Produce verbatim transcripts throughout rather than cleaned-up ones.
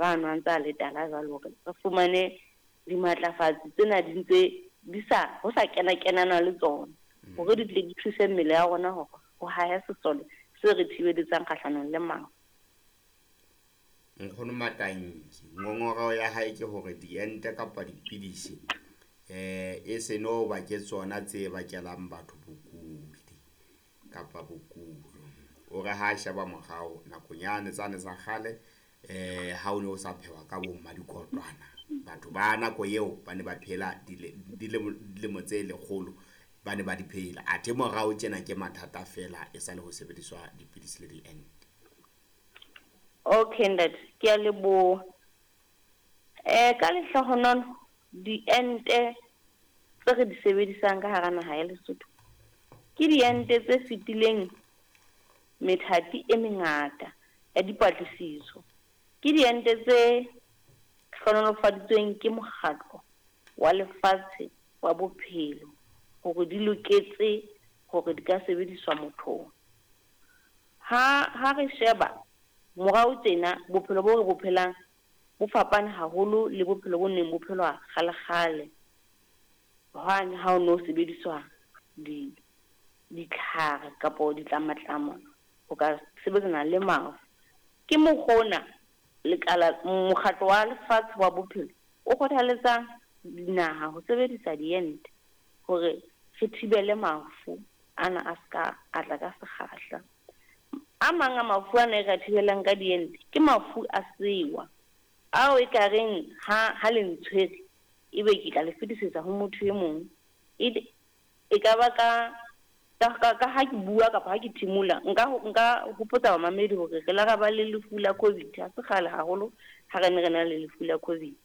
ano a ntse a le tala jwalo hore re fumane dimatlafatsi tsena di ntse di sa ho sa kena kenana le tsona hore di tle di thuse mmele ya rona hore ho hahe sesole se re thibeletsang kgahlanong le mafu. Nkgono Matanki, ngongoreho ya hae ke hore diente kapa dipidisi eh e se no ba ke tsona tse bakelang batho bokudi kapa bokulo. O re ha sheba morao nakong yane tsane tsa kgale eh ha o ne o sa phehwa ka bo mmadikotwana, batho ba nako eo ba ne ba phela dilemo tse lekgolo, ba ne ba di phela. Athe morao tjena ke mathata fela e sa le ho sebediswa dipidisi le diente. Okay ntate, ke a leboha. Eh ka lehlohonolo diente tse re di sebedisang ka hara naha ya Lesotho ke diente tse fetileng methati e mengata ya dipatlisiso. Ke diente tse hlohonolofaditsweng ke mokgatlo wa lefatshe wa bophelo hore di loketse hore di ka sebediswa mothong. Ha ha re sheba morao tjena bophelo bo re bo phelang bo fapane haholo le bophelo bo neng bo phelwa kgale-kgale. Hwane ha o no sebediswa di ditlhare kapo ditlamatlama ho ka sebetsana le mafu. Ke mokgwa ona lekala mokgatlo wa lefatshe wa bophelo o kgothaletsang dinaha ho sebedisa diente hore re thibele mafu ana a ska a tla ka sekgahla. A mang a mafu ana e re thibelang ka diente ke mafu a sewa ao e ka reng ha ha le ntshwere ebe ke tla le fetisetsa ho motho e mong. E e ka ba ka ka ka ha ke bua kapa ha ke thimola nka nka hopotsa bamamedi hore re la ra ba le lefu la COVID. Ha se kgale haholo ha re ne re na le lefu la COVID.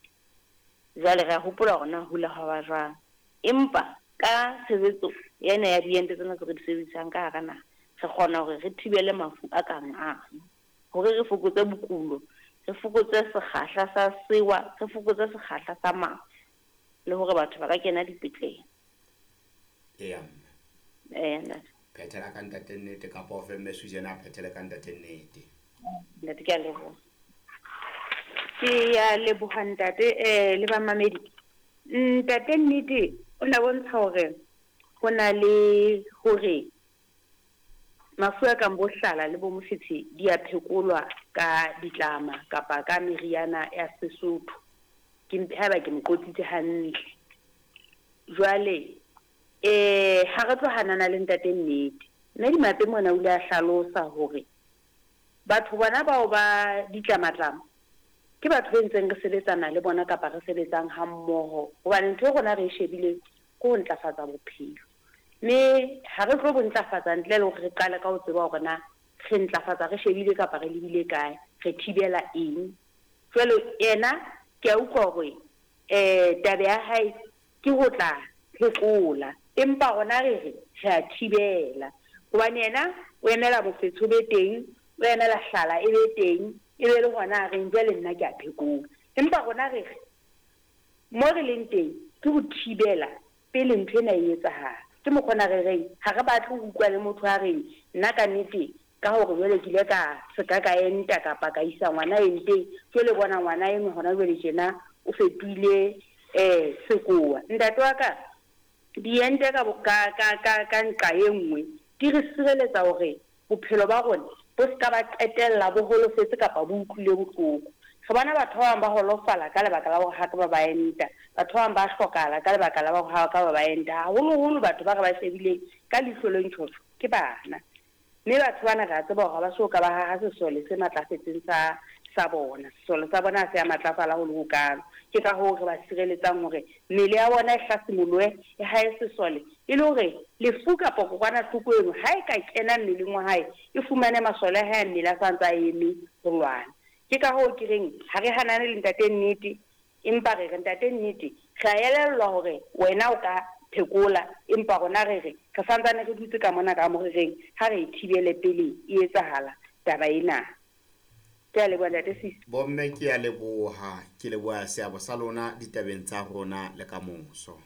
Jwale re a hopola hore na hula hwa ba jwang. Empa ka tshebetso ena ya diente tsena tse re di sebedisang ka hara naha, re kgona hore re thibele mafu a kang ano, hore re fokotse bokulo, re fokotse sekgahla sa sewa, re fokotse sekgahla sa mafu, le hore batho ba ka kena dipetlele. Eya mme. Eh ntate. Phethela ka ntate Nnete kapa o fe mme Susan a phethele ka ntate Nnete. Ntate ke a leboha. Ke a leboha ntate eh le bamamedi. Ntate Nnete o na bontsha hore ho na le hore mafu a kang bo hlala le bo mofetshe di a phekolwa ka ditlama kapa ka meriana ya Sesotho. Ke haeba ke mo qotsitse hantle. Jwale eh ha re tlo hanana le ntate Nnete. Mme Dimape mona o ile a hlalosa hore batho bona bao ba ditlamatlama ke batho be ntseng re sebetsana le bona kapa re sebetsang ha mmoho, hobane ntho e rona re e shebileng ke ho ntlafatsa bophelo. Mme ha re tlo bo ntlafatsa ntle le hore re qale ka ho tseba hore na re ntlafatsa re shebile kapa re lebile kae, re thibela eng. Jwale yena ke a utlwa hore eh taba ya hae ke ho tla phekola, empa rona re re re a thibela, hobane yena o emela mofetshe o be teng, o emela hlala e be teng, e be le hona a reng jwale nna ke a phekola. Empa rona re re mo re leng teng ke ho thibela pele ntho ena e etsahala. Ke mokgwa re reng ha re batle ho utlwa le motho a reng nna ka nnete ka hore jwale ke ile ka se ka ka enta kapa ka isa ngwana enteng, jwale bona ngwana enwa hona jwale tjena o fetohile eh sekowa. Ntate wa ka, diente ka ka ka ka ka nqa e nngwe di re sireletsa hore bophelo ba rona bo se ka ba qetella bo holofetse kapa bo utlwile bohloko. Re bona batho ba bang ba holofala ka lebaka la hore ha ka ba ba enta, batho ba bang ba hlokahala ka lebaka la hore ha ka ba ba enta. Haholoholo batho ba re ba shebileng ka leihlo le ntjhotjho ke bana, mme batho bana re a tseba hore ha ba so ka ba haha sesole se matlafetseng sa sa bona. Sesole sa bona ha se a matlafala ho le hokalo. Ke ka hoo re ba sireletsang hore mmele ya bona e hlasimolohe, e hae sesole, e le hore lefu kapa kokwanahloko eno ha e ka kena mmeleng wa hae e fumane masole a hae a mmele a sa ntse a eme ho lwana. Ke ka hoo ke reng ha re hanane le ntate Nnete, empa re re ntate Nnete re a elellwa hore wena o ka phekola, empa rona re re re santsane re dutse ka mona ka mo re reng ha re e thibele pele e etsahala taba ena. Ke a leboha ntate Sisi. Bomme ke a leboha, ke leboha seabo sa lona ditabeng tsa rona le kamoso.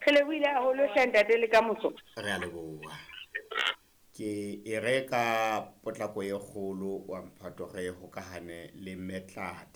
Re lebohile haholo hle ntate le kamoso. Re a leboha. Ke e re ka potlako e kgolo wa mphato re hokahane le Metladi.